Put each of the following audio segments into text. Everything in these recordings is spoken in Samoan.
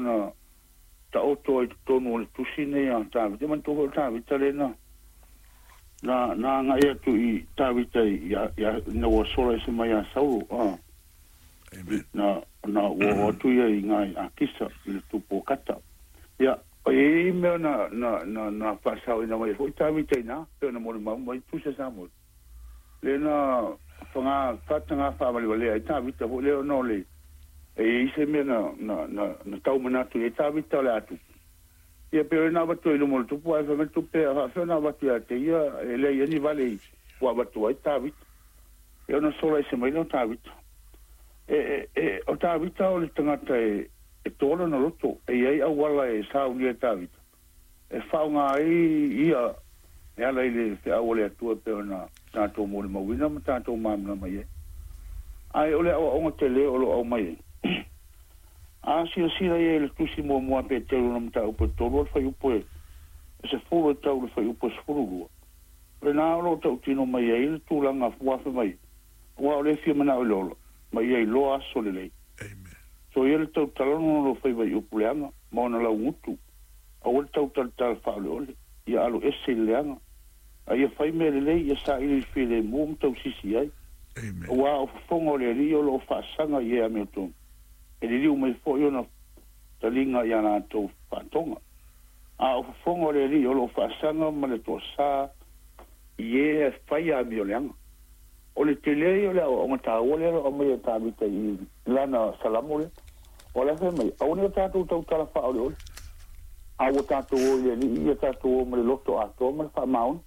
ona taoto ai i totonu o le tusi lenei a Tavita. Manatua foi o Tavita lea na na na agai atu i Tavita ina ua sola ese mai ia Saulo, a na na ua oo atu ia i ina i Akisa i le tupu o Kata. Ia, e i ai mea na na na na faasaoina mai ai foi Tavita i ina, pei ona molimau mai tusi a Samuele. Lea na faga faataga faavalevalea ai Tavita foi lea ona o le e i ai se mea na na na na tau manatu i ai Tavita o le a tupu. Ia pei o lea na avatu ai i luma o le tupu ae fai mai le tupe a faafefea ona avatu ia te ia e leai ai ni vale i ua avatu ai Tavita. Ia ona sola ese mai lea o Tavita. E, e, e, o Tavita o le tagata e, e toa lona loto, e i ai auala e saunia e Tavita e faaaoga ai ia e ala i le feau a le Atua e pei ona tatou molimauina ma tatou malamalama i ai. Ae o le aoaoga tele o lo o aumai ai, a silasila ia i le tusi muamua a Peteru ona mataupu e 3 o le fuaiupu e 10 e tau i le fuaiupu e 12, o lena o lo o tautino mai ai le tulaga ua afe mai, aua o lea e fia manao i le ola, ma ia iloa aso lelei. Soia le tautala ona o lou faiva i upu leaga ma ona laugutu. Aua le tautalatala faaoleole, ia alo ese i le leaga, a ia fai mea lelei, ia saili i le filemu ma tausisi i ai. Aua o fofoga o le Alii o lo o faasaga i e amiotonu, e liliu mai foi ona taliga i a latou faatoga. A o fofoga o le Alii o lo o faasaga ma le toasa i e e fai amioleaga. O le tele ia o le aoaoga taua lea o lo o aumaia e Tavita i lana Salamo lea. O la e fai mai, Aua ne i o tatou tautala faaoleole, a ua tatou o i le Alii, ia tatou o ma le loto atoa ma le faamaoni.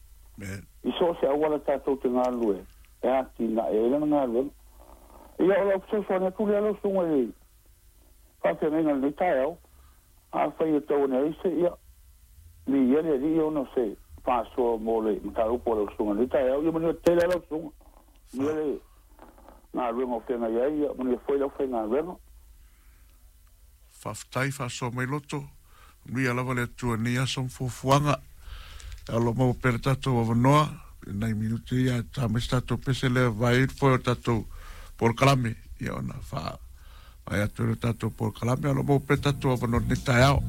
I so o se auala tatou te galulue ai, e atinae ai lana galuega. Ia, o lau fesoasoani atu lea lau susuga i le faafeagaiga i lenei taeao, afai e tau ane ai se, ia, viia le Alii ona o se faasoa mo le mataupu a lau susuga i lenei taeao. Ia manuia tele lava lau susuga. Manuia le galuega o feagai ai, ia manuia foi le aufaigaluega. Faafetai faasoa mai loto. Manuia lava le Atua i lenei aso ma fuafuaga. E alo maua pea le tatou avanoa i nai minute ia ta mai se tatou pese lea vae ai le foe o tatou polokalame ia ona faa vae atu ai le tatou polokalame. Alo maua pea le tatou avanoa i lenei taeao.